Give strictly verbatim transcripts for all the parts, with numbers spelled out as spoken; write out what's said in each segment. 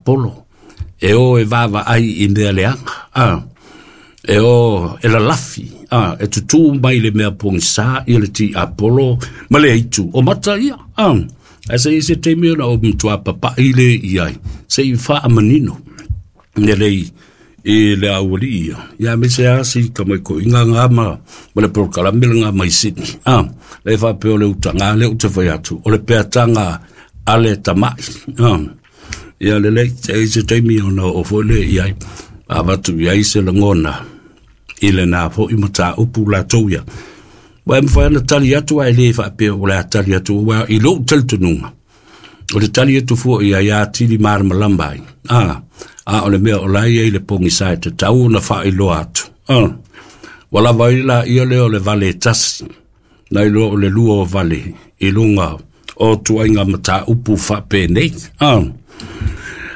tiapolo e o e vaavaai i mea leaga, a e o e lalafi, a e tutū mai le mea pogisā ia le tiapolo ma le aitu o mata ia, a ae se i se taimi ona ou matuā papa'i le i ai se'i faamanino lelei i le aualii ia ia aemaise lava si tamaikoiga gā ma ma le polokalame lagā mai Sini, a le faapea o le utagā lea ou te fai atu o le peataga a le tama'i, a ia lelei se i se taimi ona oo foi lea i ai avatu i ai se lagona i lenā fo'i mataupu latou ia. Ua e mafai ona tali atu ae lē faapea o le a tali atu uā i lou talitonuga o le tali atu fo'i ai atili malamalama ai, a a o le mea o la e i ai le pogisā e tatau ona faailoa atu, a ua lava ai laia lea o le vale e tasi nai loa o le lua o vale i luga o tuaiga mataupu faapenei, a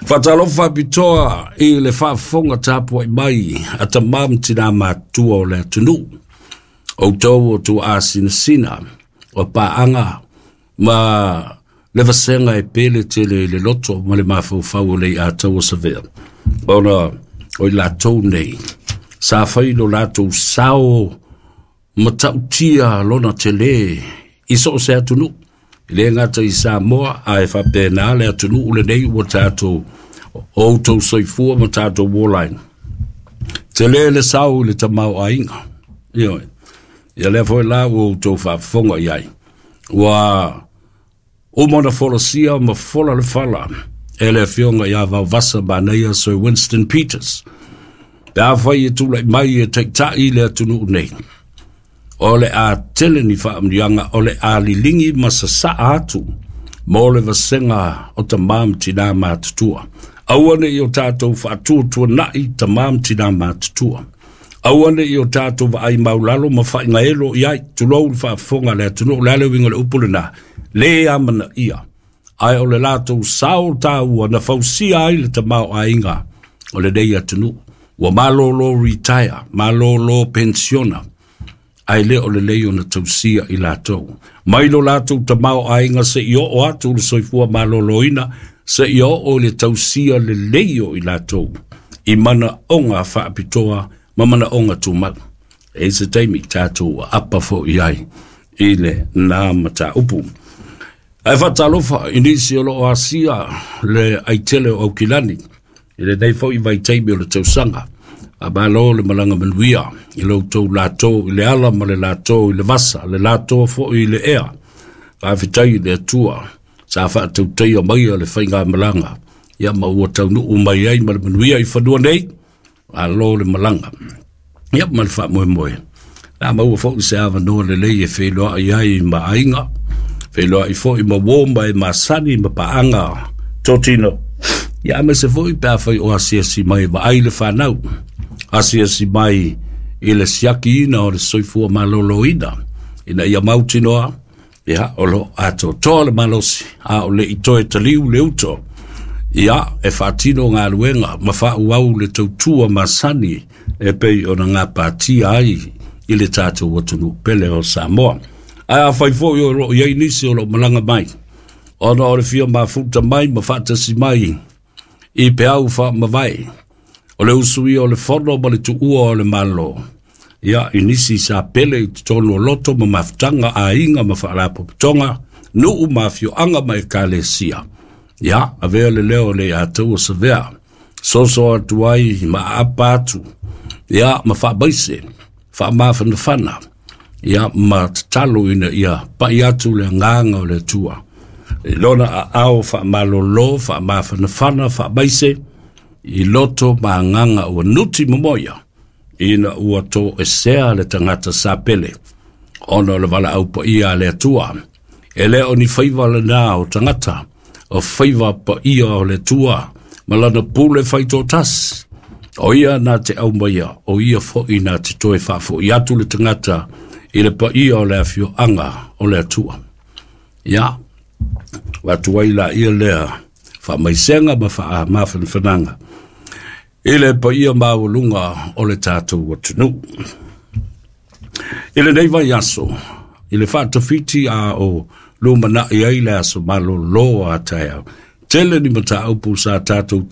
faatalofa faapitoa i le faafofoga tapuai mai a tamā ma tinā matutua o le atunuu, outou o tuaasinasina o paaga ma le vasega e pele tele i le loto ma le mafaufau o le iatau o Savea, ona o i latou nei sa fai lo latou sao matautia lona telē i so o se atunuu, e lē gata i Samoa ae faapena le atunuu lenei ua tatou o outou soifua ma tatou ola ai. Telē le sao i le tamaoaiga, ioe, ia lea foi la ua outou faafofoga i ai ua uma ona folasia ma fola le fala e le afioga ia Vaovasa Manaia Sir Winston Peters pe afai e tula'i mai e taita'i le atunuu nei o le a tele ni faamanuiaga o le a liligi ma sasa'a atu mo le vasega o tamā ma tinā matutua. Aua ne'i o tatou faatuatuana'i tamā ma tinā matutua. Aua ne'i o tatou vaai maulalo ma faaigaelo i ai, tulou le faafofoga a le atunuu. O le a le uiga o le upu lenā? Lē amanaia, ae o le latou sao taua na fausia ai le tamaoaiga o lenei atunuu. Ua malōlō retire, malōlō pensiona, ae lē o lelei ona tausia i latou. Mai lo latou tamaoaiga se'i oo atu le soifua malōlōina, se'i oo i le tausia lelei o i latou i manaoga faapitoa ma manaoga tumau. E i se taimi tatou aapa fo'i ai i lenā mataupu. Ae faatalofa i nisi o loo asia le aitele o Aukilani i lenei fo'i vaitaimi o le tausaga. Faamalo le malaga manuia i lo outou latou i le ala ma le latou i le vasa, le latou fo'i i le ea. Faafetai i le Atua sa faatautaia maia le faigamalaga ia ma ua taunuu mai ai ma le manuia i fanua nei. Malo le malaga ia ma le faamoemoe la maua fo'i se avanoa lelei e feiloai ai ma aiga, feiloai fo'i ma uō ma e masani ma paaga totino ia aemaise fo'i pe afai o asiasi mai vaai le fanau, asiasi mai i le siakiina o le soifua malōlōina ina ia mautinoa ia o loo atoatoa le malosi a o le'i toe taliu le uto ia e faatino galuega ma faaauau le tautua masani e pei ona gapatia ai i le tatou atunuu pele o Samoa. Ae afai fo'i o loo i ai nisi o loo malaga mai ona o le fia mafuta mai ma faatasi mai i peau faamavae o le usuia o le fono ma le tuua o le Malo ia i nisi sa pele i totonu o loto ma mafutaga aiga ma faalapotopotoga nuu ma afioaga ma ekalesia ia avea le leo o le iatau o Savea soso atu ai ma aapa atu ia ma faamaise faamafanafana ia ma tatalo ina ia pa'i atu le agaga o le Atua i lona aao faamalōlō faamafanafana faamaise i loto ma agaga ua nuti momoia ina ua toesea le tagata sa pele ona o le valaau paia a le Atua. E lē o ni faiva lenā o tagata, o faiva paia o le Atua ma lana pule faitoatasi. O ia na te aumaia, o ia fo'i na te toe faafo'i atu le tagata i le paia o le afioaga o le Atua. Ia, ua atu ai laia lea faamaisega ma faamafanafanaga i le paia maualuga o le tatou atunuu. I lenei vaiaso, i le faatafiti a o lumana'i ai le aso malōlō a taeao, tele ni mataupu sa tatou